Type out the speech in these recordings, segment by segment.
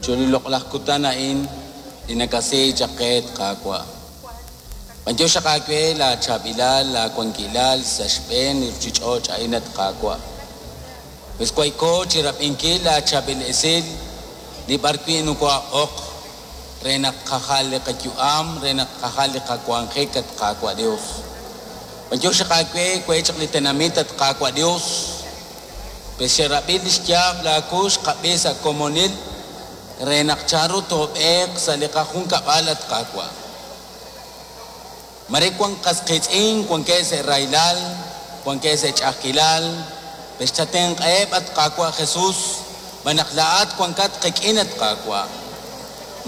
Chiru li loq'laj kutan a'in li nakasi chaq qe, at Qaawa'. B'antiox xaq aawe laa chaab'ilal, laa wankilal sa' xb'een li ruchich'och' a'in, at Qaawa'. Wes wayko chirab'inkil laa chaab'il esil li b'ar wi' nokohab'oq re naq tqajal li qayu'am, re naq tqajal li qawanjik, at Qaawa' Dios. B'antiox xaq aawe we chaq li tenamit, at Qaawa' Dios. Pues xerab'i lix yaab' laa kux qab'i sa' komonil re naq chanru toob'eeq sa' li qajunkab'al, at Qaawa'. Mare wan qas qiitz'in, wankeb' sa' rahilal, wankeb' sa' ch'a'ajkilal, pues chatenq'aheb', at Qaawa' Jesus, xb'aan naq laa'at wankat qik'in, at Qaawa'.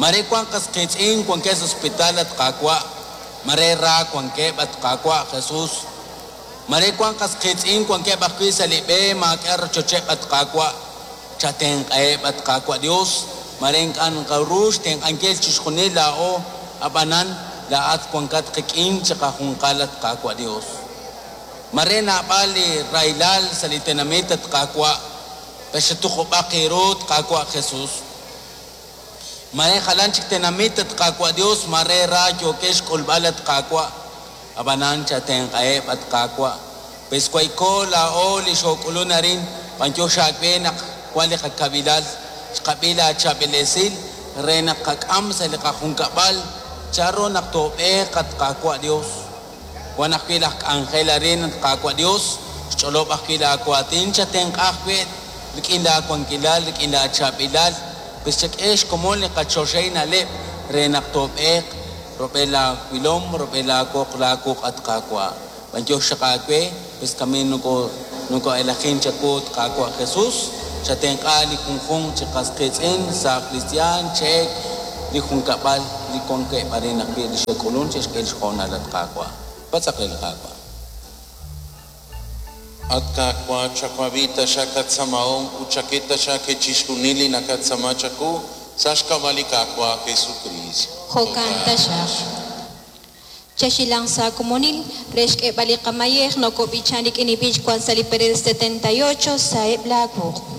Mare wan qas qiitz'in, wankeb' sa' hospital, at Qaawa', mare ra wankeb', at Qaawa' Jesus. Mare wan qas qiitz'in, wankeb' ajwi' sa' li b'e, maak'a' rochocheb', at Qaawa', chatenq'aheb', at Qaawa' Dios, mare ink'a' nqaru xtenq'ankil chixjunil laa'o, ab'anan laa'at wankat qik'in chiqajunqal, at Qaawa' Dios. Mare naab'al li rahilal sa' li tenamit, at Qaawa', taxatuqub'aq eeru, at Qaawa' Jesus. Mare jalan chik tenamit, at Qaawa' Dios, mare ra yookex xk'ulb'al, at Qaawa', ab'anan chatenq'aheb', at Qaawa'. Pues wayko laa'o li xook'ulun arin, b'antiox aawe naq wan li qakabilal, xqab'i laa chaab'il esil re naq qak'am sa' li qajunkab'al, chanru naq toob'eeq, at Qaawa' Dios. Wan ajwi' laj k'anjel arin, at Qaawa' Dios, xch'olob' ajwi' laa waatin, chatenq'a ajwi' rik'in laa wankilal, rik'in laa chaab'ilal, pues chak'e xkomon li qachoxahil na'leb' re naq toob'eeq rub'el laa wilom, rub'el laa woq, laa wuq', at Qaawa'. B'antiox xaq aawe, pues kamin noko'elajin chawu, at Qaawa' Jesus, chatenq'a li junjunq chi qas qiitz'in, sa' cristian, cheek, li junkab'al li wankeb' arin ajwi' li xe'k'ulun xe'xk'e li xhoonal, at Qaawa'. Patz'aq re li Qaawa'. At Qaawa', chawab'i taxaq qatz'aamahom ut chak'e taxaq qe chixjunil li naqatz'aama chawu sa' xk'ab'a' li Qaawa' Jesucristo. Jo'kan taxaq. Chaxilang sa komonil, re xk'eeb'al li qamayej nokob'ichan rik'in li b'ich wan sa' li perel 78 sa'eb' laa wuq'.